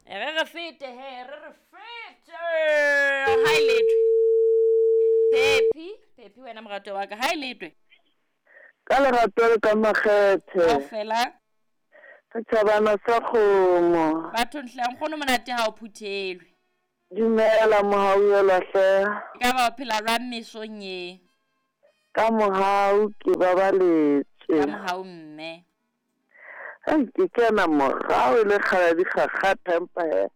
Re re fete he, re re fete. Ha e letwe. Phephi, Phephi wena morato wa ka, ha e letwe. Ka lerato le ka makgethe. Kaofela. Setjhabana sa kgomo. Bathong hle, nkgono monate ha o phuthelwe. Dumela mohauhelwa hle. E ka ba o phela jwang mesong ye? Ka mohau ke babaletswe. Ka mohau mme. Hei, ke kena morao e le kgale di kgakgatha empa he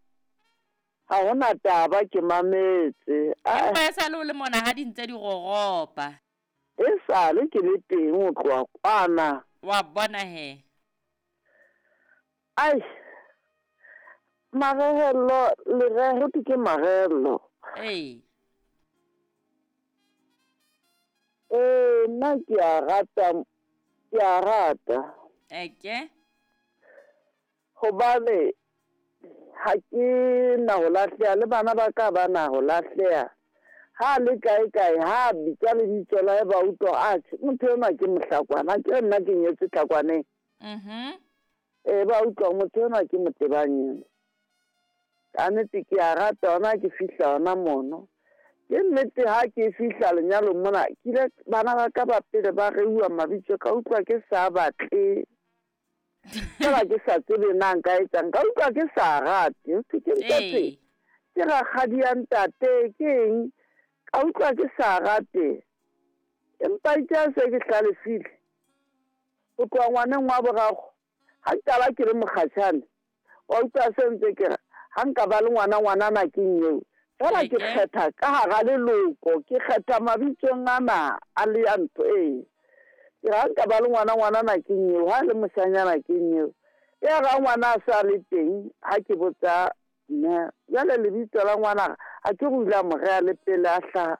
ha hona taba ke mametse. Empa e sale o le mona ha di ntse di roropa. E sale ke le teng ho tloha kwana. Wa bona he. Ai, marehello, lereho ho thwe ke marehello. Ee. Ee, nna ke a rata, ke a rata. Eke. Hobane ha ke na ho lahleha le bana ba ka ba na ho lahleha. Ha le kae kae ha bitsa lebitso la hae ba utlwa atjhe motho enwa ke mohlakwana ke nna ke nyetse tlakwaneng. Mhm. Ee ba utlwa motho enwa ke motebanyeng. Ka nnete ke a rata hona ke fihla hona mono. Ke nnete ha ke fihla lenyalong mona ke ile bana ba ka ba pele ba reuwa mabitso ka utlwa ke sa batle. Fela ke sa tsebe na nka etsang ka utlwa ke sa rate. Ho ke ntate. Ke rakgadi ya ntate ke eng? Ka utlwa ke sa rate. Empa itse ha se ke hlalefile. Ho tloha ngwaneng wa boraro ha ke qala ke le mokgatjhane wa utlwa se ntse ke re ha nka ba le ngwana ngwanana ke eo. Fela ke kgetha ka hara leloko, ke kgetha mabitsong ana a le ya ntho ee. Ke re ha nka ba le ngwana ngwanana ke eo, ha le moshanyana ke eo. Ya ra ngwana a sa le teng ha ke botsa mme jwale lebitso la ngwana ha ke re o ile a mo reha le pele a hlaha.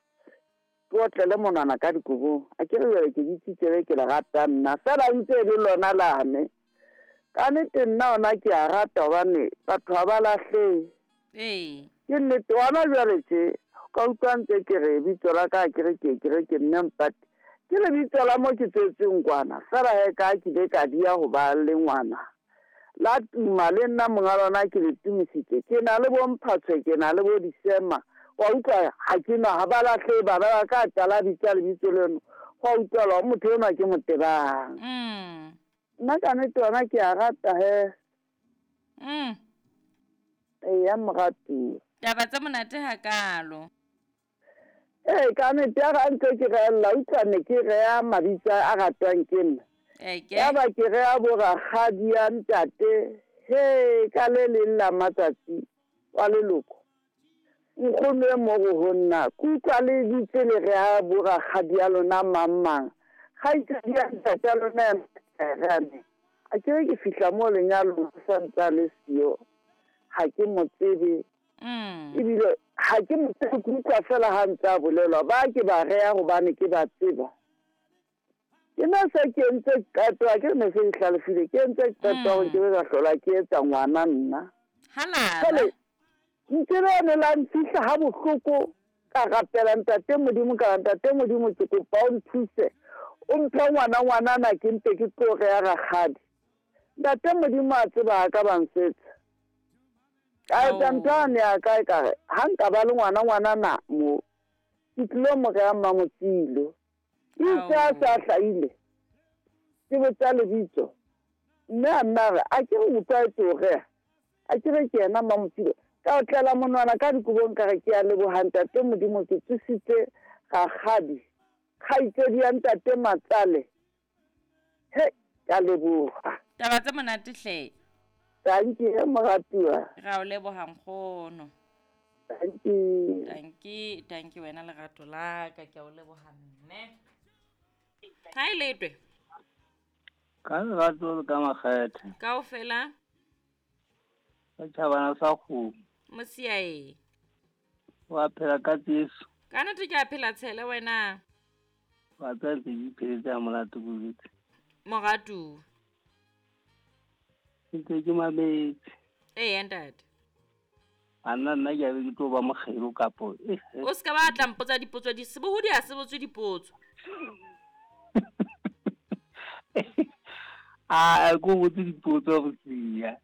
Ke otlele monwana ka dikobong. A ke re jwale ke bitsitse le ke le rata nna fela ntse e le lona lane. Ka nnete nna ona ke a rata hobane batho ha ba lahlehe. Ee. Ke nnete hona jwale tje ka utlwa ntse ke re bitso la ka ke re ke ke re ke mme Mpati. Ke lebitso la mo ke tswetsweng kwana fela he ka ke ile ka diya ho ba le ngwana. La tuma le nna monga lona ke le tumisitse. Ke na le bo Mphatshwe ke na le bo Disema. Wa utlwa ha ke nwa ha ba lahlehe bana ba ka qala bitsa lebitso leno. Hwa utlwala hore motho enwa ke motebang. Nna ka nnete yona ke a rata he. Eya moratuwa. Taba tse monate hakaalo. Ee ka nnete ya ga ntse ke reella utlwa ne ke reha mabitso a ratwang ke nna. Eke. Ya ba ke reha bo rakgadi ya ntate he ka le leng la matsatsi wa leloko. Nkgono e mo go nna ke utlwa le ditse le reha bo rakgadi ya lona mang mang. Kgaitsedi ya ntate ya lona ena reane. A ke re ke fihla mo lenyalong sa ntse a le siyo. Ha ke mo tsebe. Ebile ha ke mo tsebe ke utlwa fela ha ntse a bolelwa ba ke ba reha hobane ke ba tseba. Ke nna se ke entse qeto ha ke ne se ke hlalefile ke entse qeto hore ke be ka hlola ke etsa ngwana nna. Halala. Ntse lene la nfihla ha bohloko ka rapela ntate Modimo ka ntate Modimo ke kopa o nthuse o mphe ngwana ngwanana ke mpe ke tlo reha rakgadi. Ntate Modimo a tseba ka ba nsetsa. Ka etsa ntho yane ya ka e ka re ha nka ba le ngwana ngwanana mo ke tlilo mo reha Mmamotsilo. Itse a sa hlahile ke botsa lebitso mme a nna re a ke re utlwa etse o reha a ke re ke yena Mmamotsilo. Ka otlela monwana ka dikobong ka re ke a leboha ntate Modimo ke tsositse rakgadi kgaitsedi ya ntate Matsale. He ka leboha. Taba tse monate hle. Dankie moratuwa. Ra o leboha nkgono. Dankie. Dankie, dankie wena lerato la ka ke a o leboha mme. Ha e letwe. Ka lerato le ka makgethe. Kaofela. Setjhabana sa kgomo. Mosiae. Wa phela ka tseso. Ka nnete ke a phela tshele wena. Wa tseba ke di pheletse ha monate bolwetse. Moratuwa. Ntse ke mametse. Ee ntate. A nna nna ke a be ke tlo ba mokgelo kapo. O se ka ba tla mpotsa dipotso di sebohodi ha se botswe dipotso. A ko botse dipotso go sia.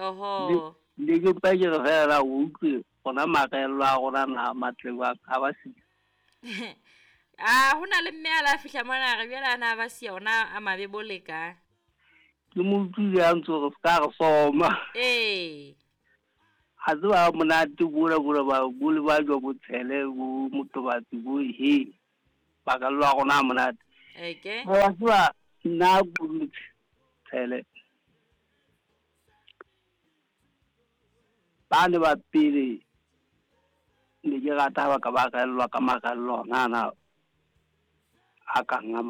Oho. Ne ke mpa ke re fela o utlwe gona magello a rona na matle jwang a ba sia. A ho na le mme a la fihla mona a re bjale a na ba sia ona a mabe bo le ka. Ke mo utlwile a ntse re ska re soma. Ee. A tseba monate bola bola ba bole ba jwa botshele bo motobatsi bo he. Magello a rona a monate. Eke. Wa tseba nna tshele. Ba ne ba pele ne ke rata ha ba ka ba rellwa ka marello ona ana a kang a